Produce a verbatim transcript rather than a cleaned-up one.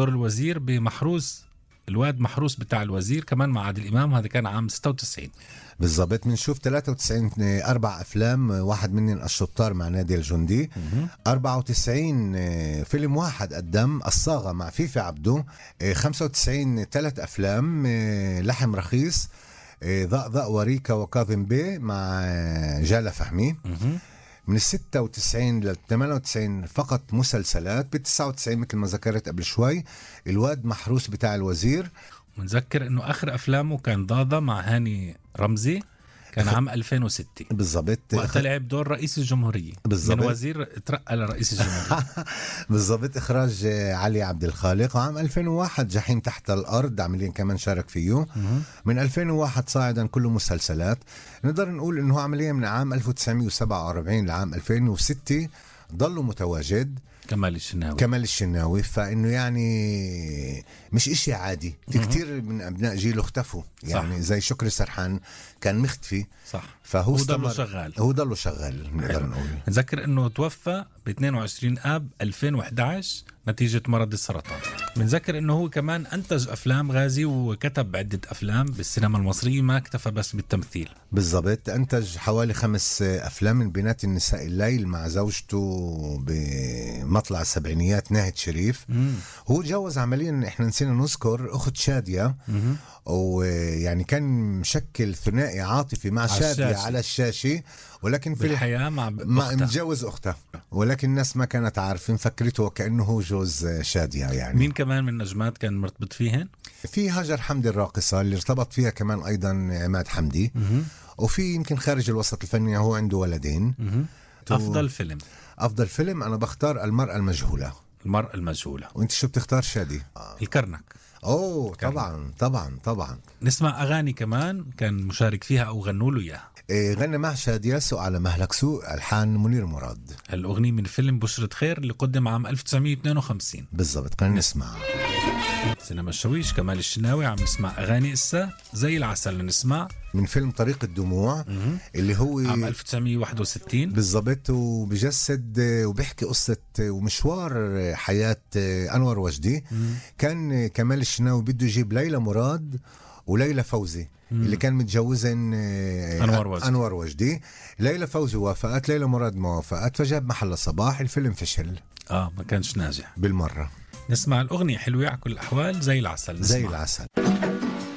دور الوزير بمحروس، الواد محروس بتاع الوزير كمان مع عادل إمام، هذا كان عام ستة وتسعين. بالضبط. بنشوف ثلاثة وتسعين أربع أفلام، واحد منهم الشطار مع نادي الجندي. أربعة وتسعين فيلم واحد قدم الصاغة مع فيفي عبدو. خمسة وتسعين ثلاث أفلام، لحم رخيص، ضأضأ وريكا وكاظم بي مع جالة فهمي. من الستة وتسعين للثمانية وتسعين فقط مسلسلات. بالتسعة وتسعين مثل ما ذكرت قبل شوي الواد محروس بتاع الوزير. ونذكر انه اخر افلامه كان ضاضة مع هاني رمزي، كان عام ألفين وستة بالضبط، وقت لعب دور رئيس الجمهورية. بالضبط. من وزير ترقى لرئيس الجمهورية. بالضبط. إخراج علي عبد الخالق. وعام ألفين وواحد جحيم تحت الأرض عمليا كمان شارك فيه. من ألفين وواحد صاعدا كله مسلسلات. نقدر نقول إنه عمليا من عام ألف وتسعمية وسبعة وأربعين لعام ألفين وستة ضلوا متواجد. كمال الشناوي كمال الشناوي. فإنه يعني مش إشي عادي. في كتير من أبناء جيله اختفوا، يعني صح. زي شكري سرحان كان مختفي، صح. فهو ضل شغال. هو ضل شغال. نقدر نقول. نذكر إنه توفى ب اثنين وعشرين آب ألفين وإحدى عشر نتيجة مرض السرطان. بنذكر إنه هو كمان أنتج أفلام غازي وكتب عدة أفلام بالسينما المصرية، ما اكتفى بس بالتمثيل. بالضبط. أنتج حوالي خمس أفلام، من بينات النساء الليل مع زوجته بمطلع السبعينيات ناهد شريف. مم. هو تجوز عمليا، إحنا نسينا نذكر أخت شادية، ويعني كان مشكل ثنائي عاطفي مع شادية الشاشة. على الشاشة، ولكن في الحياة مع ما متجوز أختها، ولكن الناس ما كانت عارفين، فكرته كأنه هو جوز شادية. يعني مين كمان من النجمات كان مرتبط فيهن؟ في هاجر حمدي الراقصة اللي ارتبط فيها كمان أيضا عماد حمدي. مه. وفي يمكن خارج الوسط الفني هو عنده ولدين. أفضل فيلم أفضل فيلم أنا بختار المرأة المجهولة. المرأة المجهولة. وانت شو بتختار شادي؟ آه. الكرنك. اوه كرنك. طبعا طبعا طبعا. نسمع أغاني كمان كان مشارك فيها أو غنوا له إياها. إيه غنى مع شادية سوء على مهلك سوء، ألحان منير مراد. الأغنية من فيلم بشرة خير اللي قدم عام ألف وتسعمية واثنين وخمسين. بالضبط. خلينا نسمع سينما الشويش. كمال الشناوي عم نسمع أغاني إسا زي العسل. نسمع من فيلم طريق الدموع اللي هو عام ألف وتسعمية وواحد وستين. بالضبط. وبجسد وبيحكي قصة ومشوار حياة أنور وجدي. مم. كان كمال الشناوي بده يجيب ليلى مراد وليلى فوزي. مم. اللي كان متجوزين أنور وجدي. أنور وجدي. ليلى فوزي وافقت، ليلى مراد ما وافقت، فجاب محل صباح. الفيلم فشل، آه ما كانش ناجح بالمرة. نسمع الأغنية حلوة على كل الأحوال زي العسل. زي العسل.